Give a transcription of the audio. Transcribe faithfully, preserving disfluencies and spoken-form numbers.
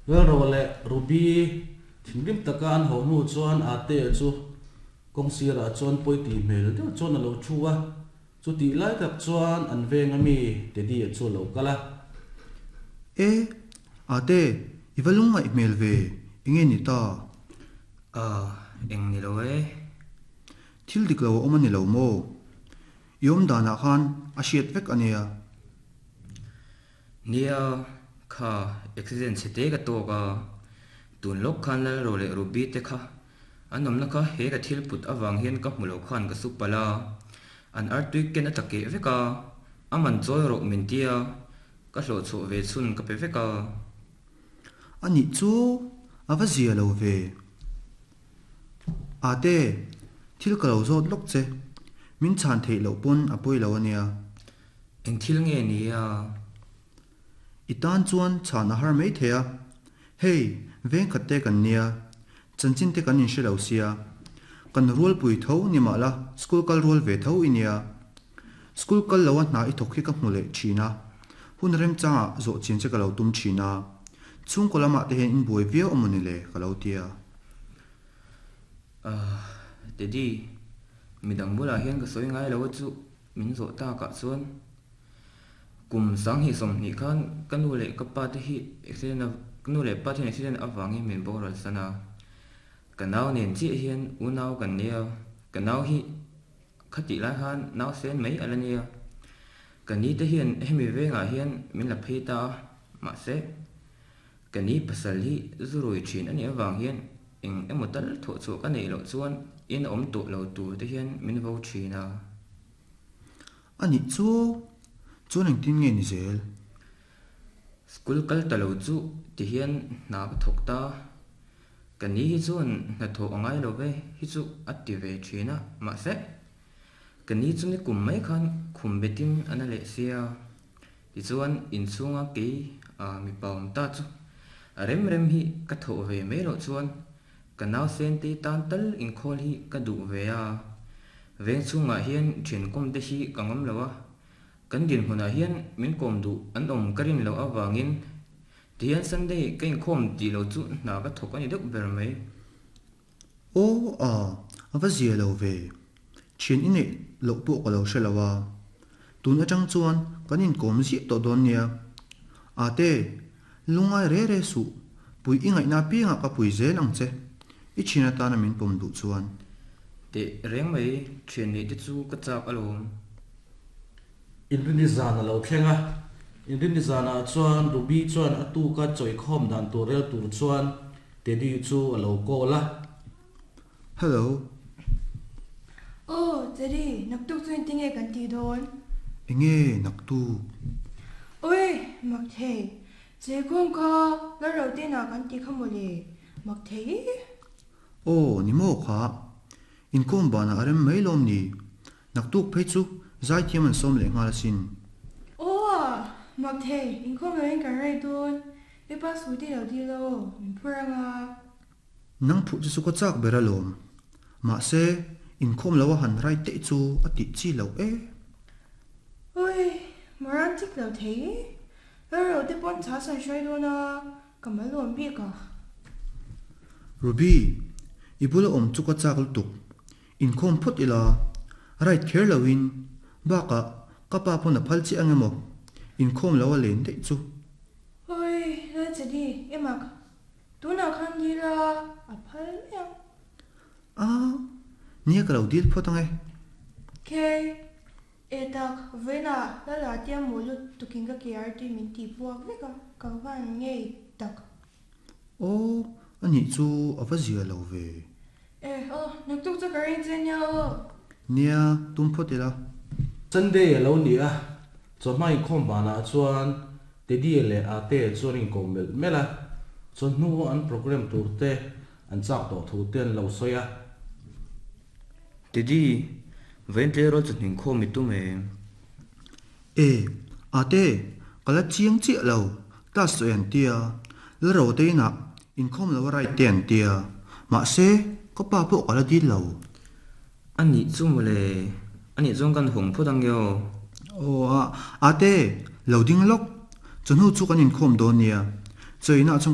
Lalro leh Ruby thinrim taka an haw hnu chuan Atea chu kawng sirah chuan pawi tih hmel deuh chuan a lo thu a, chutih lai tak chuan an veng ami Teddy-a chu a lo kal a. E, Ate, i va lungngaih hmel ve, enge ni ta? Ah, eng ni lo e. Thil dik lo a awm a ni lo maw? I awm danah khan a hriat vek a nia. Nia, kha accident chhe te ka tawk a, tun lawk khan Lalro leh Ruby te kha an awmna kha he ka thil put avang hian ka hmu lo khan ka su palh a, an artui ken a tla keh vek a, a man chawi rawh min tia, ka hlawh chhuah ve chhun ka pe vek a. A nih chu a va zia lo ve. Ate, thil ka lo zawt lawk che, min chhan theih loh pawn a pawi lo a nia. Eng thil nge ni a? I tan chuan chhan a har mai thei a, hei veng khat te kan nia, chanchin te kan inhre lo sia, kan rualpui tho ni mah la school kal rual ve tho i nia. School kal lo a hna i thawk hi ka hmu leh thin a, hun remchangah zawh chian che ka lo tum thin a, chhungkaw lamah te hian inbuai viau a mawni le ka lo tia. Ahh Teddy, midang bulah hian ka sawi ngai lo a chu min zawh takah chuan kum sanghnih sawmhnih khan ka nu leh ka pa te hi accident a ka nu leh pa te hian accident avangin min boral san a, ka nau nen chiah hian unau kan nia, ka nau hi khatih lai khan nau sen mai a la nia, ka ni te hian hemi vengah hian min la phei ta a, mahse ka ni pasal hi zu rui thin a nih avang hian eng emaw tal thawh chhuah ka neih loh chuan in a awm tawh lo tur te hian min vo thin a. A nih chu, chuan engtin nge ni zel? School kal ta lo chu ti hian hna ka thawk ta. Ka ni hi chuan hnathawh a ngai lo ve hi chu a ti ve thin a, mahse ka ni chu ni kum mai khan khum betin a na leh sia. Tichuan inchhunga kei a mipa awm ta chu a rem rem hi ka thawh ve mai loh chuan ka nau Sentei tan tal inkhawl hi ka duh ve a. Veng chhungah hian thiankawm te hi ka ngam lo a, kan dinhmunah hian min kawm duh an awm ka rin loh avangin tihian Sunday ka inkhawm tih loh chu hna ka thawk a ni deuh ber mai. Aw a, a va zia lo ve. Thian i neih loh pawh ka lo hre lo a. Tun atang chuan kan inkawm ziah tawh dawn nia. Ate, lungngai re re suh, pui i ngaihna apiangah ka pui zel ang che, i thian atana min pawm duh chuan. Teh reng mai, thian neih te chu ka chak alawm. Inrini zan a lo thleng a, Inrini zanah chuan Ruby chuan a tuka chawikhawm dan tur rel tur chuan Teddy chu a lo call a. Hello. Aw, Teddy, naktuk chu engtinge kan tih dawn? Enge naktuk? Oi, mak thei. Cheikhawm kha Lalrotenah kan tih kha mawle, mak thei. Aw, ni maw kha? Inkawm banah a rem mai lawm ni? Naktuk phei chu zaithiam an sawm leh nghal asin. Aw a, mak thei, inkhawm loin kan rei dawn. I pa Scooty lo dil aw, min phur anga. Nang phuh chu chu ka chak ber alawm. Mahse, inkhawm lo a han rai teh chu a tih chi loh e. Oi, Moran chik lo thei. Lalro te pawn chhas an hruai dawn a, ka mal awm bik a. Ruby, i bula awm chu ka chak lutuk. Inkhawm phawt ila, right kher loin, bakah ka pa pawn a phal chiah ang emaw, inkhawm lo a len daih chu. Oi, Lalchadi, i mak. Tunah khan dil a, a phal mai ang. A, nia ka lo dil phawt ang e. Kei, e tak, vawiinah Lala tia maw lut tukin ka ke ar tui min tih puak vek a, ka van ngei tak. Aw, a nih chu a va zia lo ve. E, aw, naktuk chu ka ring che nia aw. Nia, tum phawt ila. Sunday a lo ni a, chawhma inkhawm banah chuan Teddy leh Ate chuan inkawm melh melh a, chawhnu an program tur te an chak tawh thu te an lo sawi a. Teddy, vawiin tleirawl chu hninkhawm i tum em? E, Ate, ka la chiang chiah lo, class sawi an tia, la ro te inah inkhawm lo a right te an tia, mahse ka pa pawh ka la dil lo. A nih chu mawle, a nih chuan kan hawng phawt ang io. Aw a, Ate, lo ding lawk, chawhnu chu kan inkhawm dawn nia, chawiinah chuan ka